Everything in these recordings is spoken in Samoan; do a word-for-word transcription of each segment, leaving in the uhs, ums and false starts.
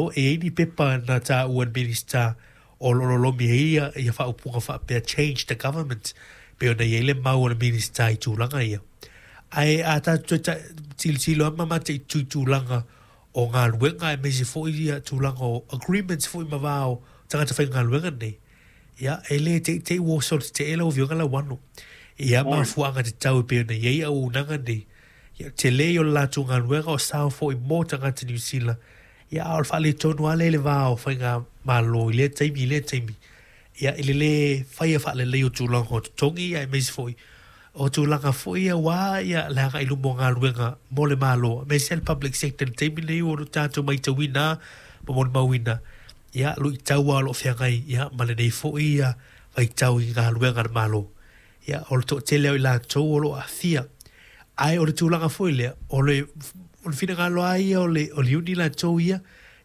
masalo e i ai ni pepa na taua e le Minisita o lo o lolomi ai ia, ia faaupuga faapea change the government, pei ona i ai le mau a le Minisita i tulaga ia. Ae a tatou toe tilotilo lava ma mataitu i tulaga o galuega aemaise foi ia tulaga o agreements foi ma va o tagata faigaluega nei, ia, e le teitei ua oso le tetee lau Afioga Lauano i ia mafuaaga tatau e pei ona i ai auaunaga nei. Ia, tele o le latou galuega o sao foi mo tagata Niu Sila, ia, a o le faaletonu lava lea i le va o faigamalo i lea taimi i lea taimi, ia, i le lē faia faalelei o tulaga o totogi aemaise foi o tulaga foi ia aua ia le agai i luma o galuega mo le Malo, aemaise le public sector i le taimi lenei ua tatou matauina ma molimauina ia luitau lava o lo o feagai ia ma lenei foi ia vaitau i galuega a le Malo. Ia, o le toatele o i latou o lo o aafia. Ae o le tulaga foi lea, o le, o le finagalo lava ia o le, o le iuni latou ia,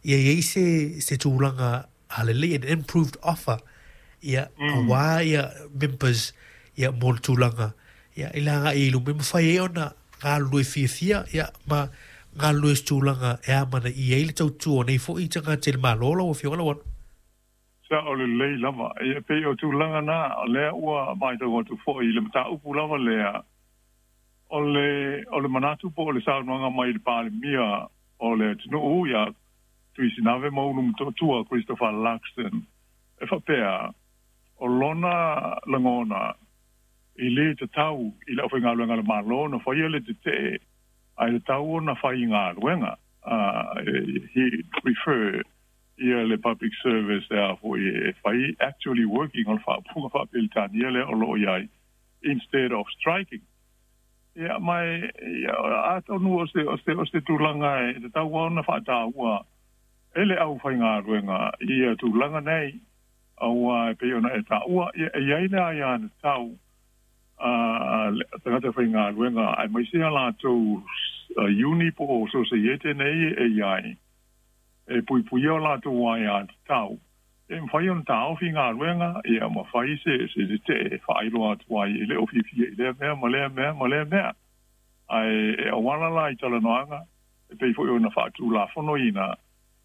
ia i ai se, se tulaga lelei, an improved offer, ia, mm. aua ia members ia mo le tulaga ia i le agai i luma, e mafai ai ona galulue fiafia ia ma galulue se tulaga e amanaia ai le tautua o nei foi tagata i le Malo, lau Afioga Lauano. Sao lelei lava. Ia, pei o tulaga na, o lea ua matau atu foi i le mataupu lava lea, o le, o le manatu po o le saunoaga mai i le Palemia o le atunuu ia Tuisinave Maulu Motootua Christopher Luxon, e faapea, o lona lagona e lē tatau i le aufaigaluega a le Malo na faia le tetee ae tatau ona fai galuega. uh, he prefer ia le public service e a foi e fai actually working, o le faaupuga faapeletania lea o loo i ai, instead of striking. Ia, mai ia, atonu o se, o se, o se tulaga e tatau ona faataua e le aufaigaluega ia tulaga nei, aua e pei ona e taua, ia, e i ai le aiatatau a tagata faigaluega aemaise a latou iuni po o sosaiete nei e i ai e puipuia o latou aiatatau e mafai ona taofi galuega ia ma fai se se tetee e faailoa atu ai e le o fiafia i lea mea ma lea mea ma lea mea, ae e auala la i talanoaga e pei foi ona faatulafonoina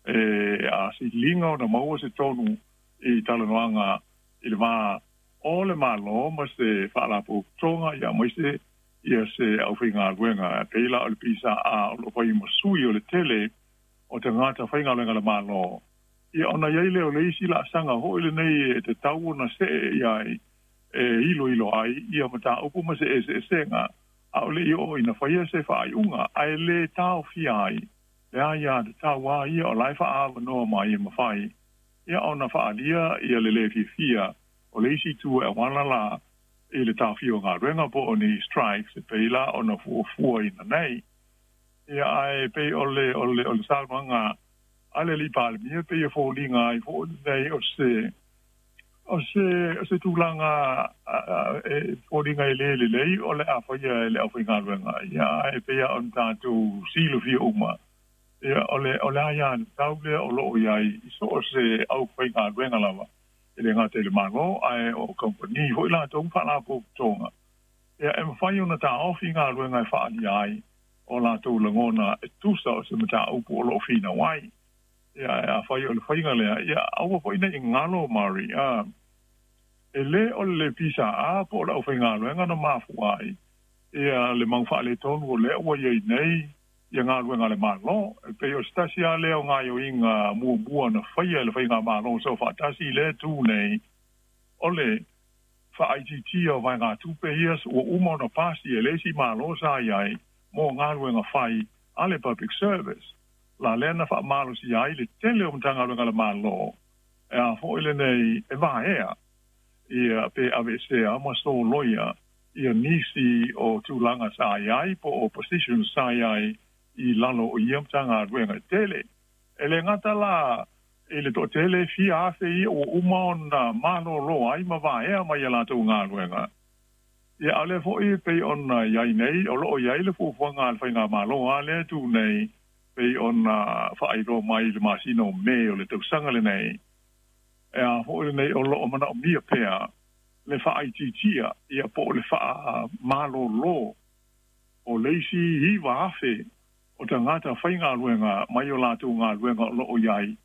e a siliga ona maua se tonu i talanoaga i le va o le Malo ma se faalapotopotoga ia aemaise ia se aufaigaluega e pei la o le P S A A o loo fai ma sui o le tele o tagata faigaluega le Malo. Ia, ona i ai lea o le isi laasaga foi lenei e tatau ona see i ai e iloilo ai ia mataupu ma se eseesega a o le i oo ina faia se faaiuga, ae lē taofia ai le aiatatau a ia o lae faaavanoa mai e mafai ia ona faaalia ia le lē fiafia o le isi itu e auala la i le taofia o galuega po o ni strikes e pei la ona fuafua ina nei. Ia, ae pei o le o le o le saunoaga a le alii Palemia pei e foliga ai foi lenei o se o se o se tulaga e foliga e lē lelei o le a faia e le aufaigaluega. Ia, ae pei a ona tatou silafia uma, ia, o le o le aiatatau lea o loo i ai i so o se aufaigaluega lava, e le gata i le Malo ae o kamupani foi latou faalapotopotoga, ia, e mafai ona taofi galuega e faaalia ai o latou lagona e tusa o se mataupu o loo finau ai. Ia, afai o le faiga lea, ia, aua foi nei galo mari a e lē o le P S A A po o le aufaigaluega na mafua ai ia le mau faaletonu o lea ua iai nei ia galuega a le Malo. E pei o se tasi a lea o gaioiga muamua na faia e le faigamalo so faatasi i le tu nei o le faaitiitia o vaegatupe ia ua uma ona pasi e le isi Malo sa i ai mo galuega fai a le public service la lea na faamalosia ai le tele o Matagaluega a le Malo e a foi lenei e vaea ia pe aveesea ma soloia ia nisi o tulaga sa i ai po o positions sa i ai i lalo o ia Matagaluega e tele. E le gata la i le toatele fia afe ia ua uma ona malōlō ai ma vaea mai ia latou galuega, ia, a o lea foi pei ona i ai nei o loo i ai le fuafuaga a le faigamalo a lea tu nei pei ona faailoa mai i le masina o Me o le tausaga lenei e a foi lenei o loo manaomia pea le faaitiitia ia po o le faamalōlō o le isi iva afe o tagata faigaluega mai o latou galuega o loo i ai.